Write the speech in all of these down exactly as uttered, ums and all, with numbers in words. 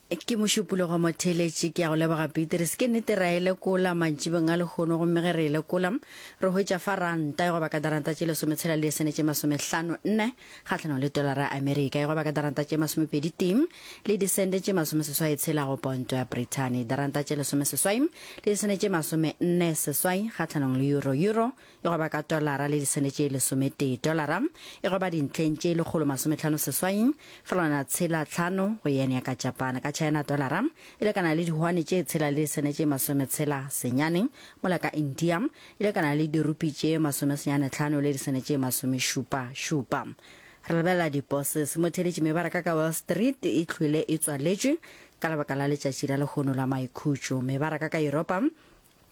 Ke Mošupologo motheeletši, ke ya go leboga Petrus. Ke nnete ra e lekola mantšibeng a lehono, gomme ge re e lekola re hwetša fa ranta e goba ka daranta tše lesometshela le disene tše masomehlano nne kgahlanong le tolara ya Amerika, e goba ka daranta tše masomepedi tee le disente tše masomeseswai tshela go ponto ya Brithani, daranta tše lesomeseswai le disene tše masomenne seswai kgahlanong le euro, euro e goba ka tolara le disene tše lesometee, tolara e goba dintlheng tše lekgolo masomehlano seswai felwana tshela tlhano go yen ya ka Japan. Ka China tolara e lekana le dihwane tše tshela le disene tše masometshela senyane, mola ka India e lekana le dirupi tše masomesenyane tlhano le disene tše masomešupa šupa. Re lebelela diposes motheletši mebaraka ka Wall Street e hlwele e tswaletšwe ka lebaka la letšatši la lehono la maikhutšo. Mebaraka ka Yuropa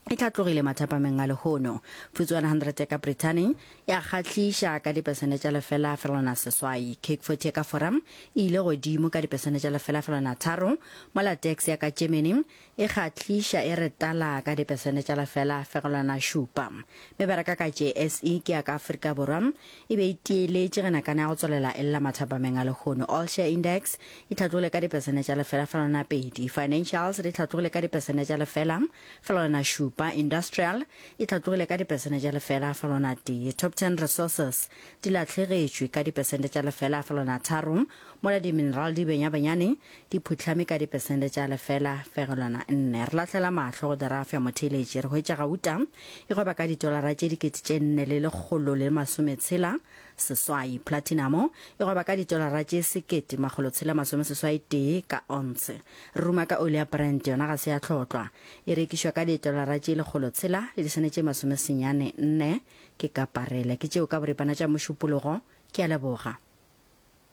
e hlatlogile mathapameng a lehono. Futsi one hundred ya ka Brithani ya kgahliša ka dipesene tša lefela felwana seswai. Cake forty ya ka Fora e ile godimo ka dipesene tša lefela felwana tharo, mola Dax ya ka Germany e kgahliša e re tala ka dipesene tša lefela fegelwana šupa. Mebaraka ka J S E ke ya ka Afrika Borwa e be e tieletše ge nakana ya go tswelela e lla mathapameng a lehono. All Share Index e hlatlogile ka dipesene tša lefela felwana pedi. Financials di hlatlogile ka dipesene tša lefela felwana šupa. Industrial e hlatlogile ka dipesene tša lefela felwana tee. Top Ten Resources di lahlegetšwe ka dipesente tša lefela felwana tharo, mola di-mineral di benyabenyane di phuhlame ka dipesente tša lefela fegelwana nne. Re lahlela mahlo go derafo ya motheeletši, re hwetša gauta e gweba ka ditolara tše dikete tše nne le lekgolo le masometshela seswai. Platinamo e gweba ka ditolara tše sekete makgolo tshela masomeseswai tee ka onse. Re ruma ka oli ya Brent, yona ga se ya hlotlwa. E rekišwa ka ditolara tše lekgolo tshela le disene tše masomesenyane nne ke ka parele. Ke tšeo ka boripana tša Mošupologo. Ke a leboga.